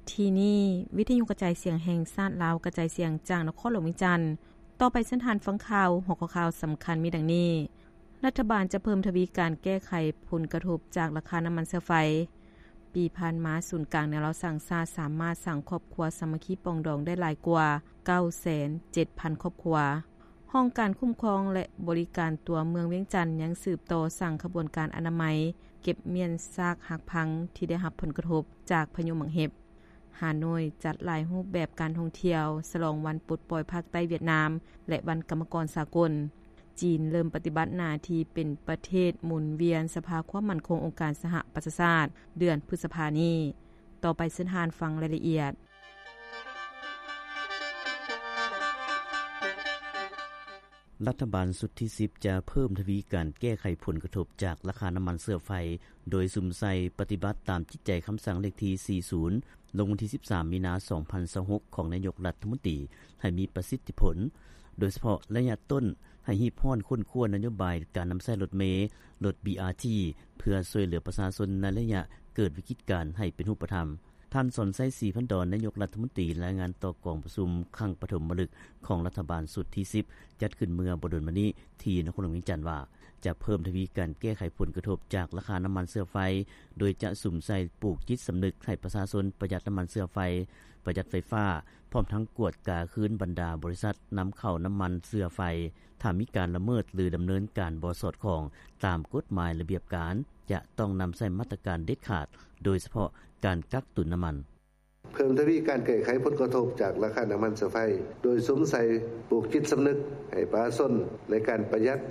ທີ່ນີ້ ວິທຍຸກະຈາຍສຽງແຫ່ງຊາດລາວ ກະຈາຍສຽງຈາກນະຄອນຫຼວງວຽງຈັນ. ຕໍ່ໄປເຊີນທ່ານຟັງຂ່າວ. ຫົວຂໍ້ຂ່າວສຳຄັນມີດັ່ງນີ້: ລັດຖະບານຈະເພີ່ມທະວີການແກ້ໄຂຜົນກະທົບຈາກລາຄານ້ຳມັນເຊື້ອໄຟ. ປີຜ່ານມາ ສູນກາງແນວລາວສ້າງຊາດສາມາດສ້າງຄອບຄົວສາມັກຄີປອງດອງໄດ້ຫຼາຍກວ່າເກົ້າແສນເຈັດພັນຄອບຄົວ. ຫ້ອງການຄຸ້ມຄອງ ແລະ ບໍລິການຕົວເມືອງວຽງຈັນ ຍັງສືບຕໍ່ສ້າງຂະບວນການອະນາໄມ ເກັບມ້ຽນຊາກຫັກພັງທີ່ໄດ້ຮັບຜົນກະທົບຈາກພາຍຸໝາກເຫັບ. ຮ່າໂນ້ຍຈັດຫຼາຍຮູບແບບການທ່ອງທ່ຽວ ສະຫຼອງວັນປົດປ່ອຍພາກໃຕ້ຫວຽດນາມ ແລະ ວັນກຳມະກອນສາກົນ. ຈີນເລີ່ມປະຕິບັດໜ້າທີ່ເປັນປະເທດໝູນວຽນສະພາຄວາມໝັ້ນຄົງອົງການສະຫະປະຊາຊາດ ເດືອນພຶດສະພານີ້. ຕໍ່ໄປເຊີນທ່ານຟັງລາຍລະອຽດ. ລັດຖະບານຊຸດທີສິບ ຈະເພີ່ມທະວີການແກ້ໄຂຜົນກະທົບຈາກລາຄານ້ຳມັນເຊື້ອໄຟ ໂດຍສຸມໃສ່ປະຕິບັດຕາມຈິດໃຈຄຳສັ່ງເລກທີສີ່ສິບ ລົງວັນທີສິບສາມ ມີນາ ສອງພັນຊາວຫົກ ຂອງນາຍົກລັດຖະມົນຕີ ໃຫ້ມີປະສິດທິຜົນ, ໂດຍສະເພາະໄລຍະຕົ້ນ ໃຫ້ຮີບຮ້ອນຄົ້ນຄວ້ານະໂຍບາຍການນຳໃຊ້ລົດເມ, ລົດ ບີອາທີ ເພື່ອຊ່ວຍເຫຼືອປະຊາຊົນໃນໄລຍະເກີດວິກິດການໃຫ້ເປັນຮູບປະທຳ. ທ່ານ ສອນໄຊ ສີພັນດອນ ນາຍົກລັດຖະມົນຕີ ລາຍງານຕໍ່ກອງປະຊຸມຄັ້ງປະຖົມມະລຶກຂອງລັດຖະບານຊຸດທີສິບ ຈັດຂຶ້ນເມື່ອບໍ່ດົນມານີ້ທີ່ນະຄອນຫຼວງວຽງຈັນວ່າ ຈະເພີ່ມທະວີການແກ້ໄຂຜົນກະທົບຈາກລາຄານ້ຳມັນເຊື້ອໄຟ ໂດຍຈະສຸມໃສ່ປູກຈິດສຳນຶກໃຫ້ປະຊາຊົນປະຢັດນ້ຳມັນເຊື້ອໄຟ, ປະຢັດໄຟຟ້າ, ພ້ອມທັງກວດກາຄືນບັນດາບໍລິສັດນຳເຂົ້ານ້ຳມັນເຊື້ອໄຟ. ຖ້າມີການລະເມີດ ຫຼື ດຳເນີນການບໍ່ສອດຄ່ອງຕາມກົດໝາຍລະບຽບການ ຈະຕ້ອງນຳໃຊ້ມາດຕະການເດັດຂາດ, ໂດຍສະເພາະການກັກຕຸນນ້ຳມັນ. ເພີ່ມທະວີການແກ້ໄຂຜົນກະທົບຈາກລາຄານ້ຳມັນເຊື້ອໄຟ ໂດຍສຸມໃສ່ປູກຈິດສຳນຶກໃຫ້ປະຊາຊົນໃນການປະຢັດ